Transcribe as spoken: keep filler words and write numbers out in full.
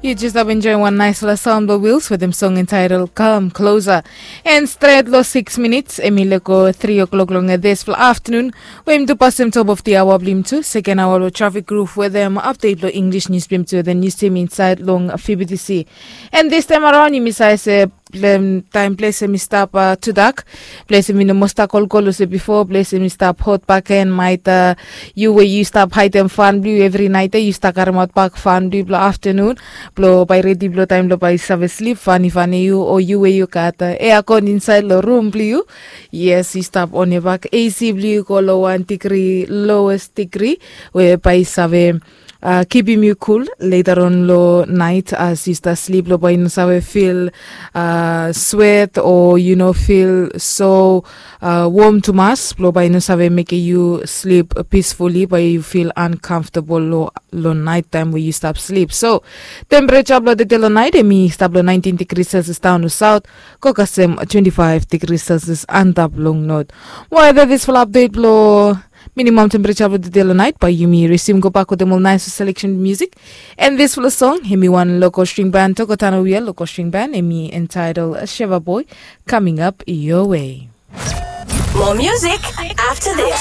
Yu jes stap enjoim wan naisfala saon blong Wils wetem song entitled Come Closer. And stret long six minits em i lego three o'clock long dispela afternoon, we em tu pasim top of the hour blong tu second hour long traffic group wetem update long English news blong tu wetem news team inside long F B T C. And this time around yumi save se taim ples em i stap tudak, ples em i no moa stap kolkol olsem bifo, ples em i stap hot bakegen. Maet yu we yu stap haidem fan blong yu evri nait ya, yu stap karimaot bak fan blong yu blong aftanun, blong bai redi blong taim blong bai yu save slip, fani fani yu o yu we yu gat eakon insait long rum blong yu. Yes, yu stap on ya bak, A C blong yu go long wan digri, lowest digri, we bai yu save kipim yu kul leta on long nait as yu stap slip, long bai yu no save fil swet o yu no fil so wom tumas, blong bai yu no save mekim yu slip pisfuli, bai yu fil ankamfotabol long nait taim we yu stap slip. So tempereja blong tede long nait em i stap long nineteen degri celsius daon long saut, go kasem twenty five degri celsius antap long not. Moa ya, that is fala update blong minimum temperature blong tede long nait, bai yumi resume go bak wetem ol nais selection music. And this fala song em i wan local string band, Tokotano Wia local string band, em i entitled Sheva Boy, coming up your way. More music after this.